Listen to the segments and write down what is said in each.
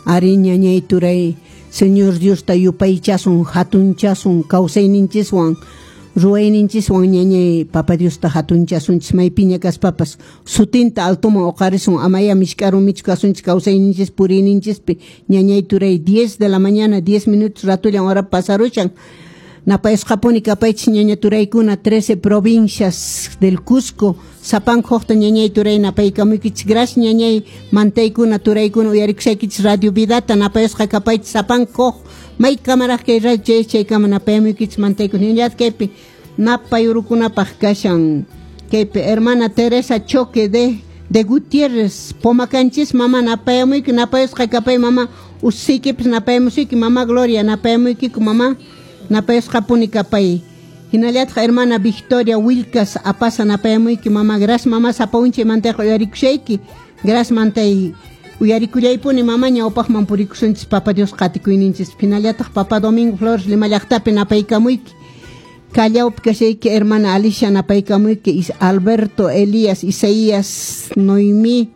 Ari ñañay turay, Señor Diosta yupaychasun, hatunchasun, kawsayninchiswan, ruwayninchiswan ñañay Papa Diosta hatunchasunchis, maypiña kaspapas sutinta altoman uqarisun, amaya mishk'arumichu kasunchis kawsayninchis puriyninchispi. Ñañay turay, 10 de la mañana, 10 minutos ratullan hora pasarushan. Napayusqapuni kapaychis ñaña turaykuna, 13 provincias del Cusco, sapanka huqta ñañay turay napaykamuykichis. Gracias ñañay mantaykuna turaykuna uyarikusaykichis Radio Vidata, napayusqa kapaychis sapanka huq may kamaraq kay radio chay chaykama napayamuykichis mantaykuna. Hinallataq kaypi napayurukunapaq kashan kaypi hermana Teresa Choque de Gutiérrez, Pomacanchis, mama napayamuyki, napayusqa kapay mama, ususiykipas napayamusuyki, mama Gloria napayamuykiku mama, napayusqapuni kapay. Hinallataq hermana Victoria Wilcas Apasa napayamuyki mama, gracias mama sapa unchay mantayqa uyarikushayki, gracias mantay uyarikullaypuni mama, ñawpaqman purikusunchis Papa Dios qatikuyninchis. Hinallataq Papa Domingo Flores Lima llaqtapi napaykamuyki, Callaupi kashayki hermana Alicia napaykamuyki, Alberto Elías Isaías Noemí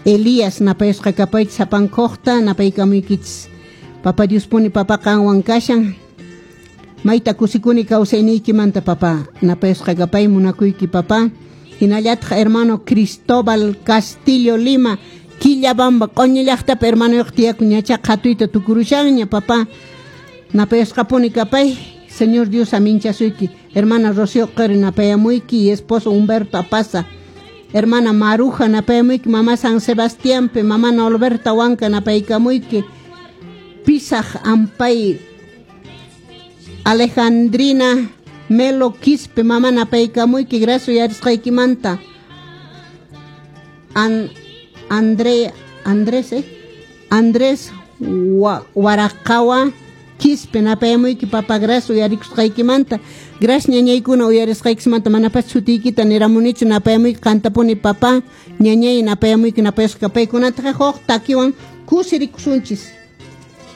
Elías napayusqa kapaychis sapankuqta napaykamuykichis. Papa Dios puni papa qanwan kashan. Mayta kusikuni kawsayniykimanta papa, napayusqa kapay munakuyki papa. Hinallataq hermano Cristóbal Castillo Lima, Quillabamba q'uñi llaqtapi hermanoyuq tiyakun, ñacha qhatuyta tukurushanña papa, napayusqapuni kapay. Señor Dios aminchasuyki. Hermana Rocío Qeri napayamuyki y esposo Humberto Apaza. Hermana Maruja napayamuyki, mamá San Sebastiánpi, mamá Norberta Huanca napaykamuyki. Pisaj Ampay Alejandrina Melo Quispe, mamá napaykamuyki, gracias uyarisqaykimanta. Andrés, Andrés Waraqawa Quispe napayamuyki, papa, gracias uyarikusqaykimanta. Gracias ñañaykuna uyarisqaykismanta, manapas sutiykita niramunichu, napayamuyki qantapuni papa, ñañay napayamuyki, napayasqa paykunataqa huk takiwan kusirikusunchis.